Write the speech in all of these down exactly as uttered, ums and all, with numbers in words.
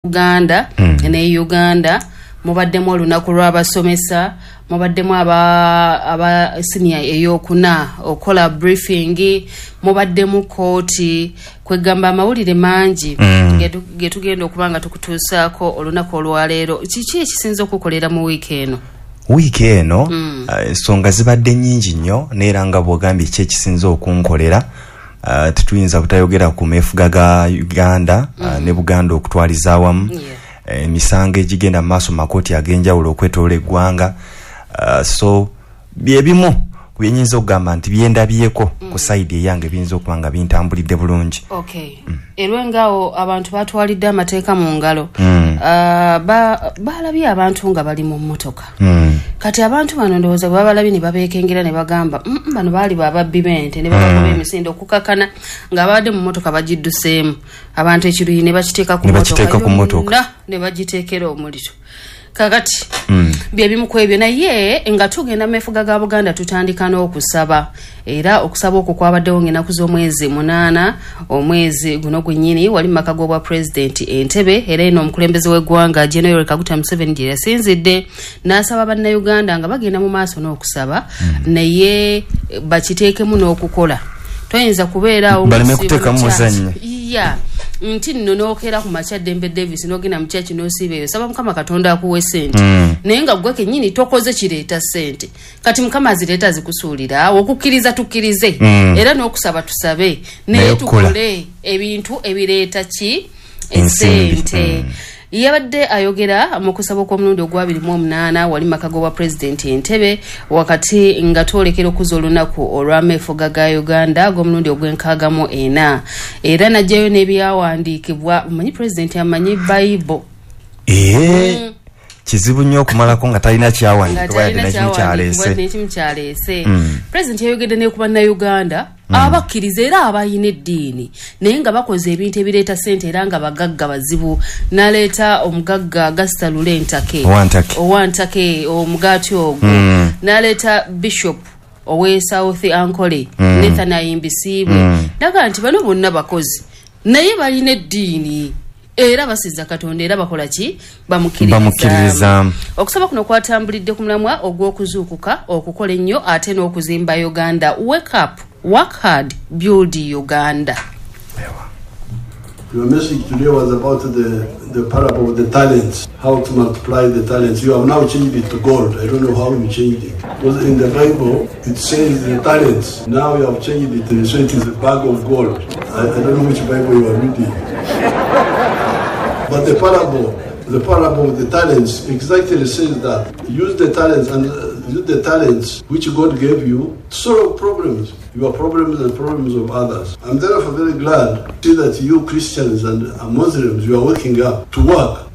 Uganda mm. ne Uganda mubaddemu olunaku lw'abasomesa, mubaddemu aba aba senior eyokuna okola briefing, mubaddemu kooti, kwegamba amawulire mangi mm. getugenda okubanga tukutuusaako olunaku olwaleero. Kiki ekisinza okukolera mu wiiki eno? Wiiki eno mm. ensonga uh, zibadde nnyingi nnyo, neera nga bw'ogambye ki ekisinza okunkolera, Uh, tetuyinza butayogera ku meefuga ga Uganda mm. uh, ne Buganda okutwaliza awamu, yeah. Emisango egigenda mu maaso mu makooti ag'enjawulo okwetoola eggwanga, uh, so byebimu ku byenyinza okugamba nti byendabyeko mm. ku sayidi eyange biyinza okuba nga bintambulidde bulungi. Okay. Mm. Erwengaawo abantu batwalidde amateeka mu ngalo, mm. uh, balabye ba abantu nga bali mu mmotoka, mm. kati abantu bano ndowooza bwe babalabye ne babeekengera ne bagamba mm, bano baali bababbi b'ente ne babakuba mm. emisinde okukakana ng'abadde mu mmotoka bagidduseemu abantu ekiruyi ne bakiteeka ku mmotoka ne bagiteekera omuliro. Kakati mm. byebimu ku ebyo, naye nga tugenda mu meefuga ga Buganda tutandika n'okusaba, era okusaba okwo kwabaddewo ng'ennaku z'omwezi munaana omwezi guno gwennyini wali mu maka g'obwa pulezidenti Entebbe, era eno omukulembeze w'eggwanga General Yoweri Kaguta Museveni gye yasinzidde n'asaba bannayuganda nga bagenda mu maaso n'okusaba, mm. naye bakiteekemu n'okukola. Toyinza kubeeraawo baleme kuteekamu muzannyo ya nti nno n'okeera ku makya Dembe Davis n'ogenda mu kyaki n'osiiba eyo, saba Mukama Katonda akuwe ssente, mm. naye nga ggwe kennyini tokoze kireeta ssente. Kati Mukama azireeta azikusuulira, okukkiriza tukkirize, mm. era n'okusaba tusabe, naye tukole ebintu ebireeta ki essente. Mm. Yabadde ayogera mu kusaba okw'omulundi ogw'abiri mu omunaana wali maka g'obwa pulezidenti Entebbe, wakati nga twolekera okuza olunaku olw'ameefuga ga Uganda ag'omulundi ogw'enkaaga mu ena, era n'aggyayo n'ebyawandiikibwa. Omanyi pulezidenti amanyi Bayibo. Ee, mm. kizibu nnyo okumalako nga talina kyawandiikibwa yadde n'ekimu kyaleese. N'ekimu kyaleese. Pulezidenti yayogedde ne ku bannayuganda mm. abakkiriza era abalina eddiini naye nga bakoze ebintu ebireeta ssente era nga bagagga bazibu. N'aleeta omugagga Gasita Lule Ntake Owantake omugaati ogwo, mm. n'aleeta Bishop owe South Ankole, mm. Nathan Ayimbisiibwe, mm. naga nti bano bonna bakozi naye balina eddiini era basiza Katonda era bakola ki bamukkiririzaamu. Okusaba kuno kwatambulidde ku mulamwa ogw'okuzuukuka, okukola ennyo ate n'okuzimba Uganda. Wake up, work hard, build Uganda. Your message today was about the, the parable of the talents, how to multiply the talents. You have now changed it to gold. I don't know how you changed it. Because in the Bible, it says the talents. Now you have changed it, so it is a bag of gold. I, I don't know which Bible you are reading. But the parable, the parable of the talents exactly says that use the talents and use the talents which God gave you to solve problems, your problems and problems of others. I'm therefore very glad to see that you Christians and Muslims, you are waking up to work.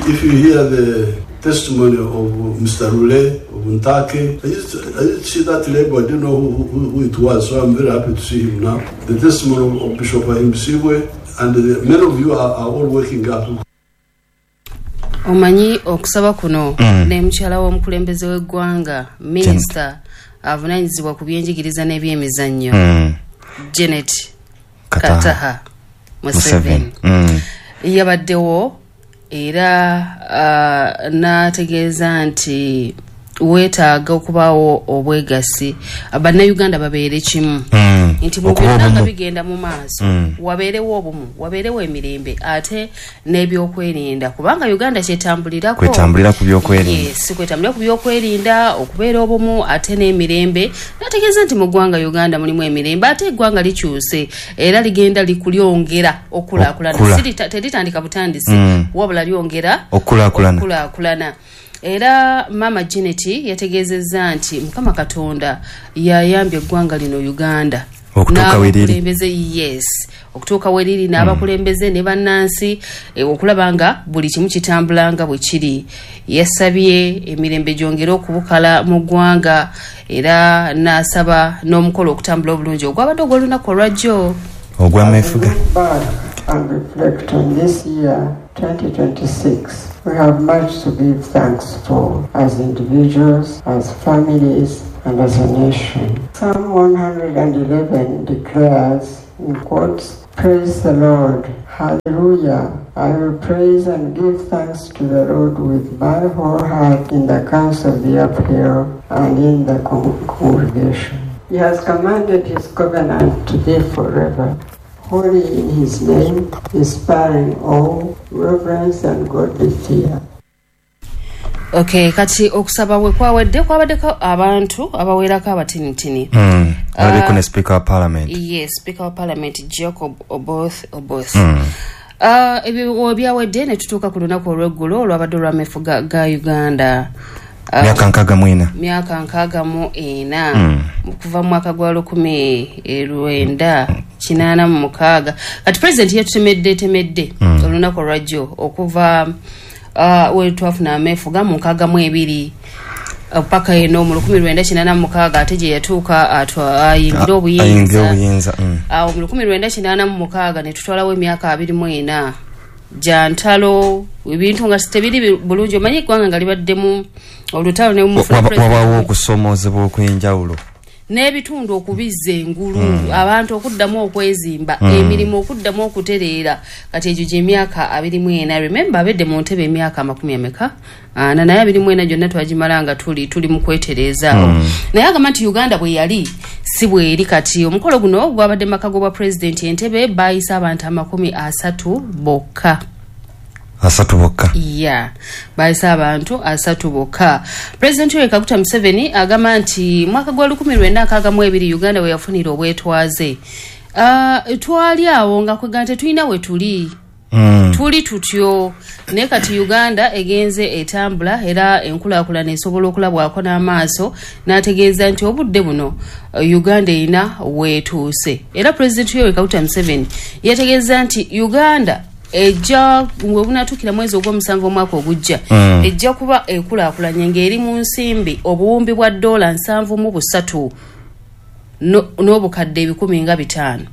If you hear the testimony of Mister Rule, of Ntake, I used to, I used to see that label, I didn't know who, who, who it was, so I'm very happy to see him now. The testimony of Bishop Ahimbisibwe, and the, many of you are, are all waking up. Omanyi okusaba kuno mm. ne mukyala w'omukulembeze w'eggwanga minisita avunaanyizibwa ku byenjigiriza n'ebyemizannyo, mm. Janet Kataha Museveni, mm. yabaddewo era uh, n'ategeeza nti weetaaga okubaawo obwegassi, bannayuganda babeere kimu, mm. nti mu byonna nga bigenda mu maaso, mm. wabeerewo obumu, wabeerewo emirembe ate n'ebyokwerinda, kubanga Uganda kyetambulirako kwetambulira ku byokwerinda. Yes, kwetambulira ku byokwerinda, okubeera obumu ate n'emirembe. N'ategeeza nti mu ggwanga Uganda mulimu emirembe ate eggwanga likyuse era ligenda likulyongera okulaakulana, teritandika butandisi, mm. wabula lyongera okulaakulana. Era Mama Janet yategeezezza nti Mukama Katonda yayambye eggwanga lino Uganda n'abakulembeze, yes, okutuuka we riri n'abakulembeze ne bannansi, e, okulaba nga buli kimu kitambula nga bwe kiri. Yasabye emirembe gyongere okubukala mu ggwanga era n'asaba n'omukolo okutambula obulungi ogwabadde ogw'olunaku olwajjo ogw'ameefuga. And reflect on this year, twenty twenty-six. We have much to give thanks for as individuals, as families, and as a nation. Psalm one hundred eleven declares, In quotes, "Praise the Lord. Hallelujah. I will praise and give thanks to the Lord with my whole heart in the council of the uphill and in the con- congregation. He has commanded his covenant to be forever, holy in his name, inspiring awe, reverence and godly fear." Okay, kati okusaba we kwawedde, kwabaddeko abantu abawerako abatinitini. Mm. Alabeko ne Speaker wa Parliament. Yes, Speaker wa Parliament Jacob Oboth Oboth. Mm. Uh, ebyo byawedde ne tutuuka ku lunaku olw'eggulo olwabadde olw'amefuga ga Uganda. Uh, Myaka nkaaga mu ena. Myaka nkaaga mu ena. Mm. Kuva mu mwaka gwa lukumi lwenda kinaana mu mukaaga. Kati President yatutemedde temedde Mm. olunaku olwajjo okuva uh, we twafuna amefuga mu nkaaga mu ebiri paka eno mu lukumi lwenda kinaana mu mukaaga, ate gye yatuuka atwa- ayingira Ayingira obuyinza. obuyinza. Mm. Awo mu lukumi lwenda kinaana mu mukaaga ne tutwalawo emyaka abiri mu ena gya ntalo, ebintu nga tebiri bulungi. Omanyi eggwanga nga libaddemu olutalo ne mufuna Waba- president- Wabaawo okusomoozebwa okw'enjawulo. N'ebitundu okubizza engulu, abantu okuddamu okwezimba, emirimu okuddamu okutereera. Kati egyo gy'emyaka abiri mu ena. Remember, abedde mu ntebe emyaka amakumi ameka ana, naye abiri mu ena gyonna twagimala nga tuli tuli mu kwetereezaawo. Naye agamba nti Uganda bwe yali si bweri kati. Omukolo guno gwabadde maka g'obwa pulezidenti Entebe, baayise abantu amakumi asatu bokka. Asatu bokka. Ya, bayise abantu asatu bokka. Pulezidenti Yoweri Kaguta Museveni agamba nti mwaka gwa lukumi lwenda nkaaga mu ebiri Uganda we yafunira obwetwaze, uh, twali awo nga kwega tetulina we tuli, Mm. tuli tutyo, naye kati Uganda egenze etambula era enkulaakulana esobola okulabwako n'amaaso. N'ategeeza nti obudde buno eh, Uganda erina weetuuse. Era Pulezidenti Yoweri Kaguta Museveni yategeeza nti Uganda ejja we bunatuukira mwezi ogw'omusanvu omwaka ogujja, Mm. ejja kuba ekulaakulanye ng'eri mu nsimbi obuwumbi bwa ddoola nsanvu mu busatu no- n'obukadde ebikumi nga bitaano,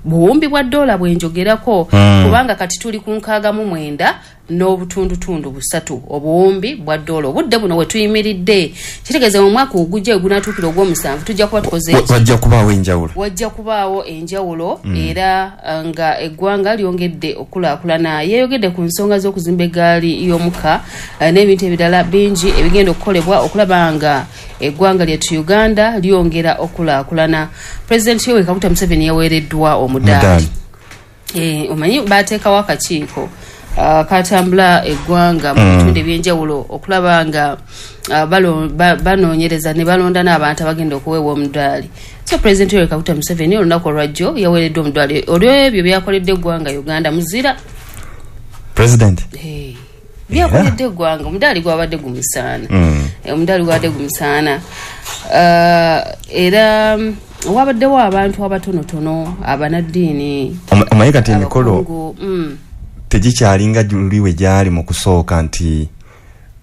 buwumbi bwa ddoola bwenjogerako, Mm. kubanga kati tuli ku nkaaga mu mwenda n'obutundutundu busatu obuwumbi bwa ddoola obudde buno we tuyimiridde. Kitegeeza mu mwaka ogujja we gunatuukira ogw'omusanvu tujja kuba tukoze Wa- eki? Wajja kubaawo enjawulo. Wajja kubaawo enjawulo mm. era uh, nga eggwanga lyongedde okulaakulana. Yeeyogedde ku nsonga z'okuzimba eggaali y'omukka uh, n'ebintu ebirala bingi ebigenda okukolebwa okulaba nga eggwanga lyattu Uganda lyongera okulaakulana. Pulezidenti Yoweri Kaguta Museveni yaweereddwa omudaali. Omudaali. Eh, omanyi bateekawo akakiiko uh, katambula eggwanga mu bitundu ebyenjawulo okulaba nga uh, balo- ba- banoonyereza ne balonda n'abantu abagenda okuweebwa omudaali. So Pulezidenti Yoweri Kaguta Museveni olunaku olwajjo yaweereddwa omudaali olw'ebyo byakoledde eggwanga Uganda. Muzira. President. Hey, byakoledde eggwanga, omudaali gwabadde gumusaana. Mm. Eh, omudaali gwabadde gumusaana. Uh, era mm, wabaddewo abantu abatonotono, abanaddiini, Oma- omanyi kati emikolo abakungu, mm. tegikyalinga luli we gyali mu kusooka, nti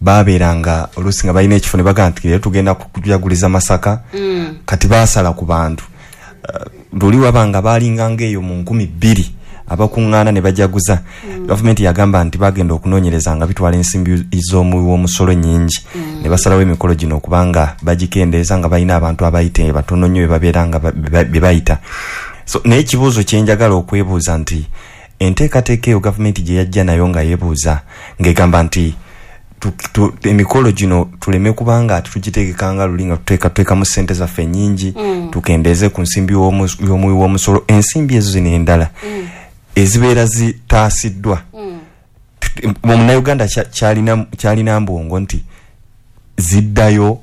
babeeranga oluusi nga balina ekifo ne bagamba nti leero tugenda kujaguliza Masaka. Mm. Kati baasala ku bantu. Uh, luli wabanga baalinganga eyo mu nkumi bbiri abakuŋŋaana ne bajaguza. mm. Gavumenti yagamba nti bagenda okunoonyereza nga bitwala ensimbi z'omuwi w'omusolo nnyingi, mm. ne basalawo emikolo gino okubanga bagikendeeza, nga balina abantu abayita batono nnyo be babeera nga ba- be be bayita. So naye ekibuuzo kyenjagala okwebuuza nti enteekateeka eyo gavumenti gye yajja nayo nga yeebuuza ng'egamba nti tu- tu- emikolo gino tuleme kubanga ate tugitegekanga luli nga tuteeka tuteekamu ssente zaffe ennyingi, mm. tukendeeze ku nsimbi y'omu- y'omuwi w'omusolo, ensimbi ezo zino endala mm. ezibeera zitaasiddwa, mm. omunnayuganda kya- kyalina kyalina mbwongo nti ziddayo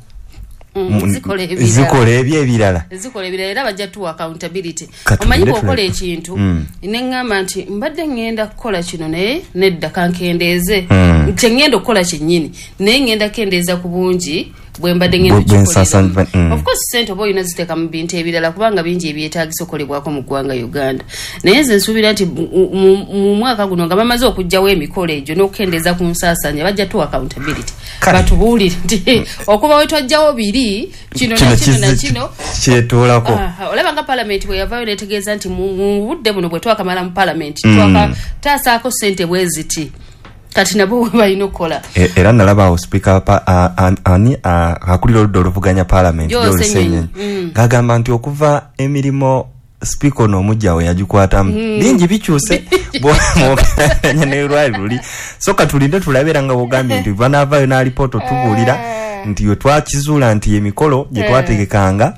Mm, mu- zikola ebirala. Zikola ebyo ebirala. Zikola ebirala, era bajja tuwa accountability. Kati Omanyi tugende bw'okola tulabe. ekintu Mm. neŋŋamba nti mbadde ŋŋenda kukola kino, naye nedda, kankendeeze Mm. kye ŋŋenda okukola kyennyini, naye ŋŋenda kukendeeza ku bungi bwe mbadde ŋŋenda Bwe- bwe nsaasaanya- okukikoleramu. mm. Of course sente oba olina ziteeka mu bintu ebirala, kubanga bingi ebyetaagisa okukolebwako mu ggwanga Uganda. Naye nze nsuubira nti mu- mu mu mwaka guno nga bamaze okuggyawo emikolo egyo n'okukendeeza ku nsaasaanya, bajja tuwa accountability, Kale. batubuulire nti okuva we twajjawo biri kino Kino na kino na kizze- kino. Kyetoolako. Aha, olaba nga palamenti bwe yavaayo netegeeza nti mu mu budde buno bwe twakamala mu palamenti Mm. twakataasaako sente bwe ziti. Kati nabo bwe balina okukola. E- era nalaba awo sipiika pa- a- a- ani a- akulira oludda oluvuganya palamenti, Joel Joel Ssenyonyi. Ssenyonyi, ng'agamba nti okuva emirimu Speaker ono omujja we yagikwatamu mm. bingi bikyuse bw'ogeraageranya ne lwali luli. So katulinde tulabe, era nga bw'ogambye nti banaavaayo n'alipoota otubuulira nti we twakizuula nti emikolo gye twategekanga,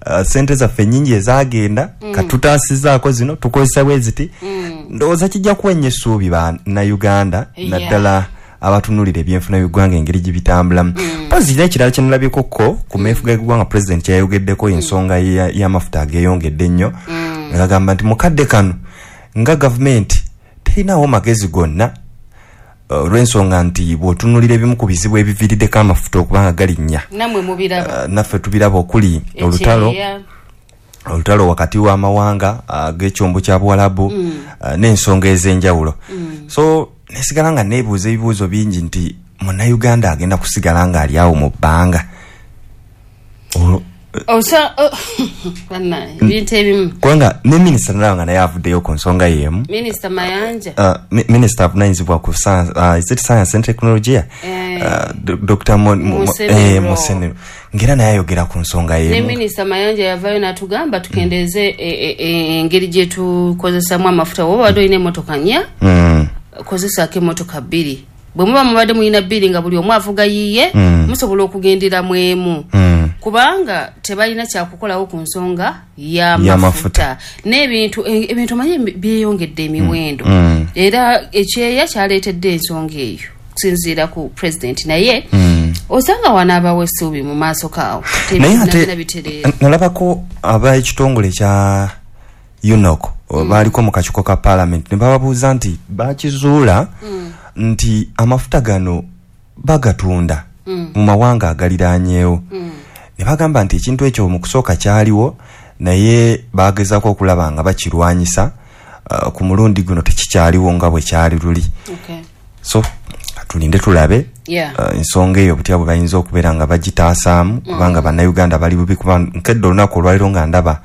uh, sente zaffe nnyingi ezaagenda, mm. katutaasizaako zino tukozesa bwe ziti. mm. Ndowooza kijja kuwenya essuubi bannayuganda, naddala abatunulira ebyenfuna by'eggwanga engeri gye bitambulamu. Mpozi mm. n'ekirala kye nalabyekokko ku meefuga g'eggwanga, pulezidenti kyeyayogeddeko, ensonga y'amafuta ageeyongedde ennyo, mm. ng'agamba nti mukadde kano nga gavumenti terinawo magezi gonna, olw'ensonga nti bw'otunuulira ebimu ku bizibu ebiviiriddeko amafuta okuba nga galinnya, nammwe mubiraba, uh, naffe tubiraba, okuli olutalo olutalo wakati w'amawanga ag'ekyombo kya Buwalabu, mm. uh, n'ensonga ez'enjawulo. mm. So nesigala nga neebuuza ebibuuzo bingi nti munnayuganda agenda kusigala nga ali awo mu bbanga? Ebintu ebimu, kubanga ne minisita nalaba nga naye avuddeyo ku nsonga y'emu. Minisita Mayanja, uh, minisita avunanyizibwa ku science, uh, is it science and technology, eh, uh, Doctor Musenero, ngera naye ayogera ku nsonga y'emu. Ne minisita Mayanja yavaayo n'atugamba tukendeeze engeri gye tukozesamu amafuta. Woba wadde olina emmotoka nnya, mm. kozesaako emmotoka bbiri. Bwe muba mubadde mulina bbiri nga buli omu avuga yiye, mm. musobola okugenderamu emu, mm. kubanga tebalina kyakukolawo ku nsonga y'amafuta n'ebintu. Ebintu omanyi byeyongedde emiwendo, mm. era ekyeya kyaleetedde ensonga eyo okusinziira ku president, naye mm. osanga wanaabawo essuubi mu maaso kaawo. Naye ate nalabako ab'ekitongole kya UNOC mm. baaliko mu kakiiko ka parliament ne bababuuza nti bakizuula mm. nti amafuta gano bagatunda mm. mu mawanga agaliraanyeewo. mm. Ne bagamba nti ekintu ekyo mu kusooka kyaliwo, naye bagezaako okulaba nga bakirwanyisa, uh, ku mulundi guno tekikyaliwo nga bwe kyali luli. Okay. So tulinde tulabe Yeah. uh, ensonga eyo butya bwe bayinza okubeera nga bagitaasaamu, kubanga bannayuganda bali bubi, kuba nkedde olunaku olwaliro nga ndaba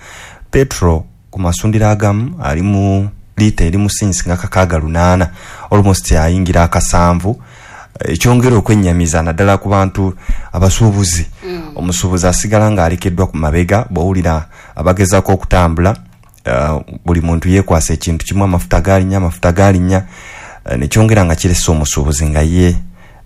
petrol ku masundiro agamu ali mu liita eri mu sinsi nga kakaaga lunaana, almost ayingira akasanvu, ekyongera okwennyamiza naddala ku bantu abasuubuzi. mm. Omusuubuzi asigala ng'alekeddwa ku mabega. Bw'owulira abagezaako okutambula, uh, buli muntu yeekwasa ekintu kimu, amafuta galinnya, amafuta galinnya, uh, nekyongera nga kirese omusuubuzi nga ye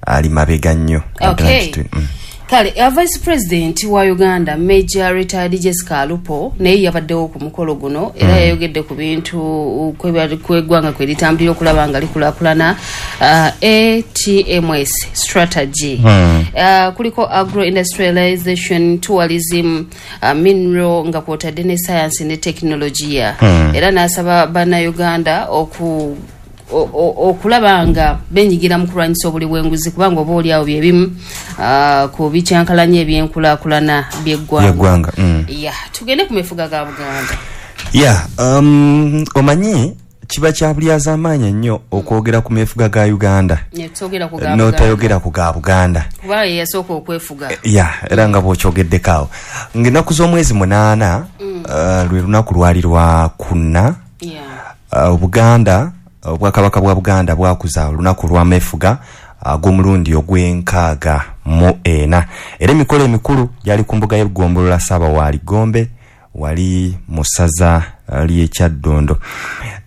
ali mabega nnyo. Okay. Mm. Kale uh, vice president wa Uganda, Major retired Jessica Alupo, naye yabaddewo ku mukolo guno, era mm. yayogedde ku bintu kweggwanga kwe litambulira okulaba nga likulaakulana, uh, A T M S strategy, mm. uh, kuliko agro industrialization, tourism, uh, mineral, nga kwotadde ne science ne technologia, mm. era n'asaba bannayuganda oku okulaba nga benyigira mu kulwanyisa obuli bw'enguzi, kubanga oba oliawo byebimu uh, ku bikyankalanya ebyenkulaakulana by'eggwanga. mm. Ya, tugende ku mefuga ga Buganda. Ya, um, omanyi kiba kya bulyazaamaanyi ennyo okwogera ku mefuga ga Uganda n'otayogera ku ga Buganda, kuba ye yasooka okwefuga. Ya, era nga bw'okyogeddeko awo, ng'ennaku z'omwezi munaana, mm. uh, lwe lunaku lwali lwa kuna, yeah. uh, Buganda, Obwakabaka bwa Buganda bwakuza olunaku lw'amefuga ag'omulundi ogw'enkaaga mu ena, era emikolo emikulu gyali ku mbuga y'eggombolola Ssaabawaali Gombe wali mu ssaza ly'e Kyaddondo.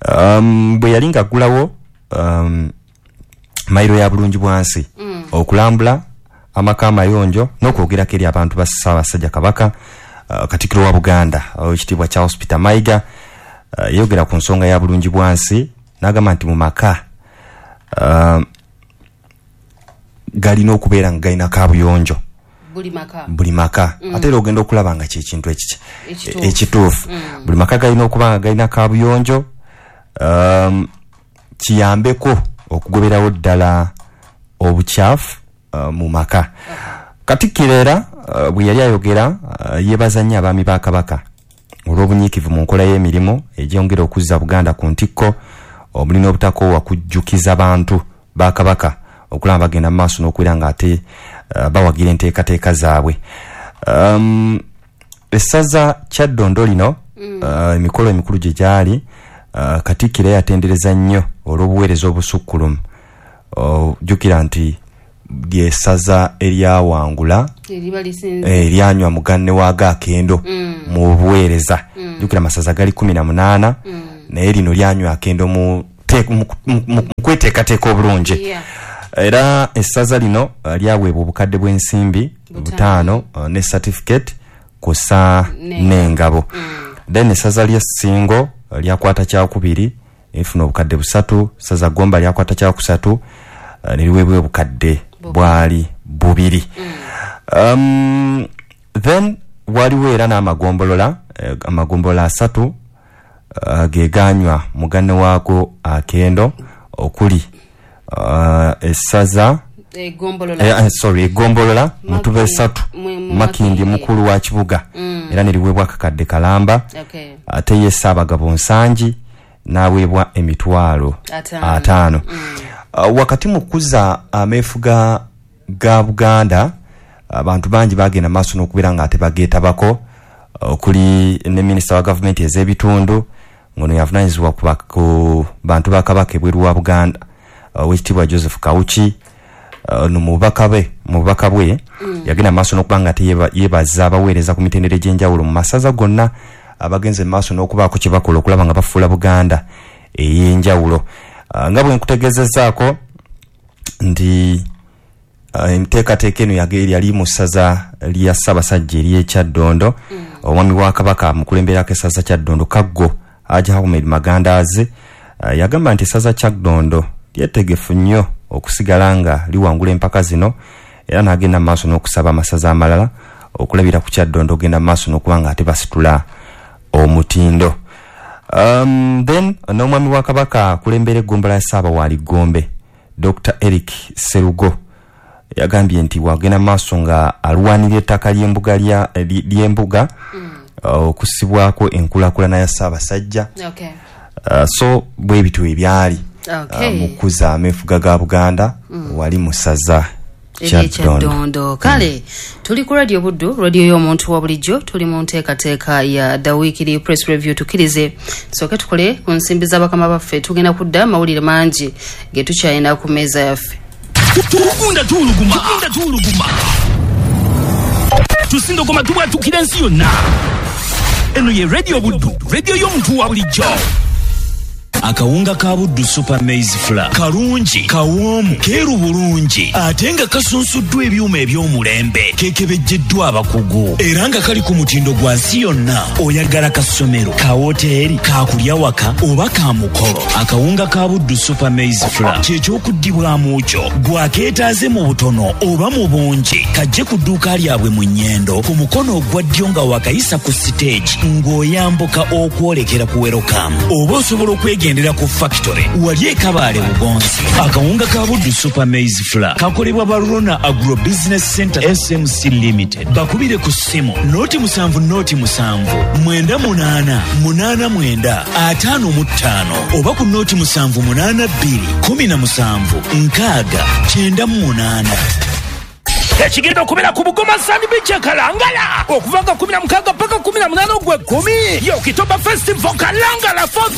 um, bwe yali ng'aggulawo um, mayiro ya bulungi bwansi, mm. okulambula amaka amayonjo n'okwogerako eri abantu ba Ssaabasajja Kabaka, uh, Katikkiro wa Buganda Oweekitiibwa Charles Peter Mayiga uh, yayogera ku nsonga ya bulungi bwansi n'agamba nti mu maka uh, galina okubeera nga galina kaabuyonjo buli maka, buli maka. Mm. Ate era ogenda okulaba nga kyekintu ekiki ekituufu. Mm. Buli maka galina okuba nga galina kaabuyonjo, um, kiyambeko okugoberawo ddala obukyafu uh, mu maka. Katikkiro era uh, bwe yali ayogera, uh, yeebaza nnyo abaami ba Kabaka olw'obunyiikivu mu nkola y'emirimu egyongera okuzza Buganda ku ntikko, omuli n'obutakoowa kujjukiza bantu ba Kabaka okulaba bagenda mu maaso n'okubeera nga ate uh, bawagira enteekateeka zaabwe. um, essaza Kyaddondo lino, mm. uh, emikolo emikulu gye gyali, uh, Katikkiro yatendereza nnyo olw'obuweereza obusukkulumu. Ojjukira nti ly'essaza eryawangula, eryanywa muganne waago akendo mm. mu buweereza. mm. Jjukira amasaza gali kumi na munaana, naye lino lyanywa akendo mu kweteekateeka obulungi. Era essaza lino lyaweebwa obukadde bw'ensimbi butaano ne certificate kw'ossa n'engabo. Then essaza ly'e Ssingo lyakwata kyakubiri, efuna obukadde busatu. Ssaza Gomba lyakwata kyakusatu, ne liweebwa obukadde bwali bubiri. Um, then waliwo era n'amagombolola, amagombolola asatu uh, geganywa mugane waago akendo, okuli uh, essaza egombolola, eh, sorry egombolola Mutuba esatu, Makindi mukulu wa kibuga, mm. era neriweebwa akakadde kalamba. Okay. Ate ye Ssaabagabo Nsangi n'aweebwa emitwalo ataano. Mm. Uh, wakati mu kukuza ameefuga ga Buganda, abantu bangi bagenda maaso n'okubeera nga ate bageetabako, okuli ne minisita wa gavumenti ez'ebitundu ngono yavunaanyizibwa ku bantu ba Kabaka ebweru wa Buganda, Oweekitiibwa Joseph Kawuki. Ono mu bubaka bwe mu bubaka bwe yagenda maaso n'okuba nga ate yeebaza abaweereza ku mitendera egy'enjawulo mu masaza gonna abagenze mu maaso n'okubaako kye bakola okulaba nga bafuula Buganda ey'enjawulo. Nga bwe nkutegeezezzaako nti enteekateeka eno yali mu ssaza lya Ssaabasajja ery'e Kyaddondo. Omwami wa Kabaka amukulemberako essaza Kyaddondo, Kaggo Haji Ahmed Magandaazi, yagamba nti essaza Kyaddondo lyetegefu nnyo okusigala nga liwangula empaka zino, era n'agenda maaso n'okusaba amasaza amalala okulabira ku Kyaddondo ogenda maaso n'okuba nga ate basitula omutindo. Um, then n'omwami wa Kabaka akulembera eggombolola ya Ssaabawaali Gombe, Doctor Eric Serugo, yagambye nti wagenda maaso nga alwanirira ettaka ly'embuga ly'embuga okusibwako enkulaakulana ya Ssaabasajja. Okay. Uh, so bwe bityo ebyali Okay. uh, mu kukuza ameefuga ga Buganda wali mu ssaza Kyaddondo. Kale tuli ku Radio Buddu, radio y'omuntu wa bulijjo, tuli mu nteekateeka ya The Weekly Press Review. Tukkirize tusooke tukole ku nsimbi z'abakama baffe, tugenda kudda amawulire mangi ge tukyalina ku mmeeza yaffe. Tugunda tuwuluguma, tugunda tuwuluguma, tusindogoma tubwatukira ensi yonna. Eno ye Radio Buddu, radio y'omuntu wa bulijjo. Akawunga ka Buddu Super Maize Flour kalungi, kawoomu, keeru bulungi, ate nga kasunsuddwa ebyuma eby'omulembe, kekebejjeddwa abakugu, era nga kali ku mutindo gwa nsi yonna. Oyagala kasomero, ka woteeri, kakulya waka oba ka mukolo, akawunga ka Buddu Super Maize Flour kyekyokuddibwamu kyo. Gwakeetaaze mu butono oba mu bungi, kajje ku dduuka lyabwe mu Nnyendo ku mukono ogwa ddyo nga wakayisa ku siteegi ng'oyambuka okwolekera ku Welcome, oba osobola okwegendera ku factory wali e Kabaale Bugonzi. Akawunga ka Buddu Super Maize Flour kakolebwa Barona Agro Business Center S M C Limited. Bakubire ku ssimu noti musanvu noti musanvu mwenda munaana munaana mwenda ataano mu ttaano oba ku noti musanvu munaana bbiri kumi na musanvu nkaaga kyenda mu munaana. Ekigenda okubeera ku Bugoma Sand Beach e Kalangala okuva nga kumi na mukaaga paka kumi na munaana ogw'ekkumi. Ye Okitoba Festival Kalangala fourth